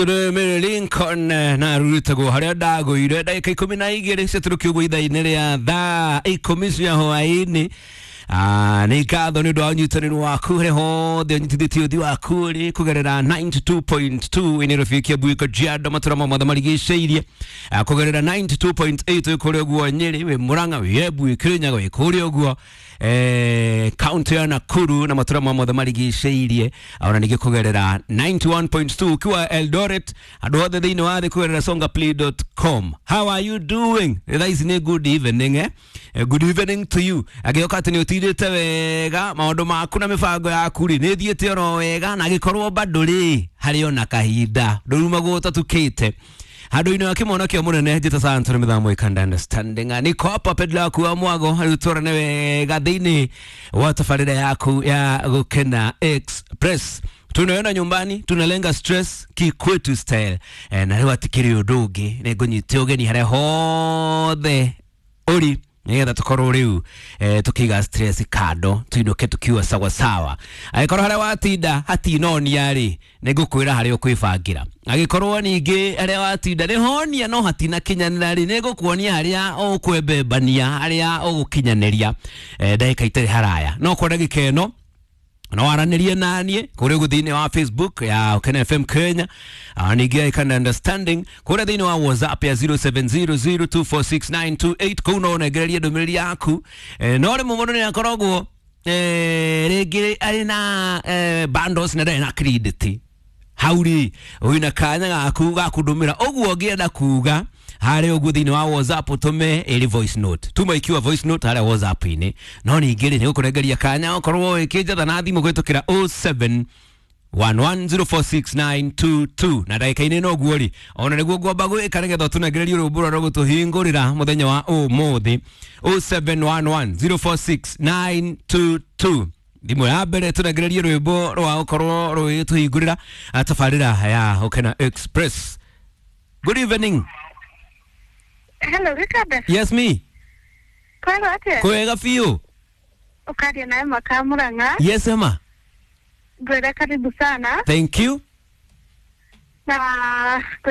Mary Lincoln na rurutagwo haria ndagũire ndagĩka 12 ciatũrũkio ũguo ithaa-inĩ rĩa thaa 10 cia hwaĩ-inĩ. Nĩ ngatho nĩ ũndũ wa ũnyitanĩri waku harĩa hothe ũnyitithĩtie ũthi waku ũrĩ kũgerera 92.2 Nairobi, Kiambu, Kajiado, matũra mothe marigicĩirie, kũgerera 92.8 wĩ kũrĩa ũguo Nyĩrĩ, wĩ Mũrang'a, wĩ Embu, wĩ Kĩrĩnyaga, wĩ kũrĩa ũguo kaunti ya Nakuru na matũra mothe marigicĩirie, ona ningĩ kũgerera 91.2 ukiwa Eldoret, andũ othe thĩinĩ wa thĩ kũgerera songaplay.com. How are you doing? Thaa ici nĩ good evening, eh? Good evening to you. Agĩoka atĩ nĩ ũtindĩte wega, maũndũ maku na mĩbango yaku rĩ nĩ ĩthiĩte oro wega, na agĩkorwo bado rĩ harĩ ona kahinda ndũrumagwo ũtatukĩte handũ-inĩ wa kĩmono kĩa mũnene njĩta Santoro mĩthamo ikanda understanding niko hapa pedla waku wa mwago rĩu twarane wega thĩinĩ wa tabarĩra yaku ya Gũkena Express. Tunaona nyumbani tunalenga stress kikwetu style, na rĩu atikĩrĩ ũndũ ũngĩ nĩ ngũnyite ũgeni harĩa hothe ũri nigetha tukorwo riu tukiiga stress kando tuinuke tukiwa sawa sawa. Angĩkorwo harĩa watinda hatinonia rĩ, nĩ ngũkwĩra harĩa ũkwĩbangĩra. Angĩkorwo ningĩ harĩa watinda nĩ honia no hatinakinyanĩra rĩ, nĩ ngũkuonia harĩa ũkwembembania, harĩa ũgũkinyanĩria. Ndagĩka itarĩ haraya no kwa ndagĩka ĩno no waranĩrie naniĩ kũrĩa ũguo thĩinĩ wa Facebook ya Ũkena FM Kenya, ningĩ Icon Understanding kũrĩa thĩinĩ wa WhatsApp ya 0700246928, kũu no ũnengererie ndũmĩrĩri yaku. No rĩmwe mũndũ nĩ akoragwo rĩngĩ arĩ na bundles na ndarĩ na credit, hau rĩ wĩna kanya gaku ga kũndũmĩra ũguo ũngĩenda kuga harĩa ũguo thĩinĩ wa WhatsApp, ũtũme ĩrĩ voice note, tuma ikiwa voice note harĩa WhatsApp-inĩ. No ningĩ rĩ, nĩ gũkũrengeria kanya ũkorwo ĩkĩnjatha na thimũ kũhĩtũkĩra 07 1104692 na ndagĩka-inĩ no guo rĩ, ona nĩguo ngwamba gwĩka nĩgetha ũtũnengererie rwĩmbo rũrĩa rũgũtũhingũrĩra mũthenya wa ũmũthĩ. 0711046922, thimũ ya mbere tũnengererie rwĩmbo rwa gũkorwo rũgĩtũhingũrĩra tabarĩra ya Ũkena Express. Good evening. Hello, Richard. Yes, me. Kwega atĩa? Kwega biũ. Ũkaria nawe Makaa Murang'a. Yes, Emma. Ngwĩre karibu sana Thank you. na